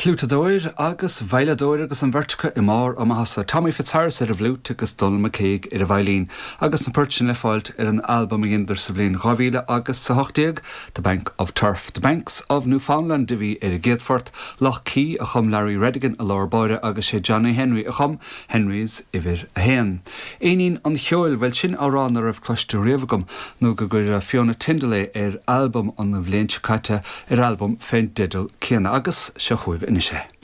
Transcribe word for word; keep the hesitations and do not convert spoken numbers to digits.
Fliútadóir agus veidhleadóir agus an bheirt acu i mbarr a maitheasa Tommy Fitzharris ar an bhfliúit agus Donal McCague ar an veidhlín, agus na poirt sin le fáilt ar an albam a dheineadar sa bhliain dhá mhíle agus a hocht déag, The Bank of Turf. The Banks of Newfoundland a bhí ar an gcéad phort, Lough Key a chum Larry Redigan i lár báire agus sé Johnny Henry a chum Henry's uimhir a haon. Éinín an cheoil bhuel sin amhrán nach raibh cloiste riamh agam nó go gcuir Fiona Tindall é ar albam an bhliain seo caite ar albam fén dteideal céanna agus seo chugaibh anois é.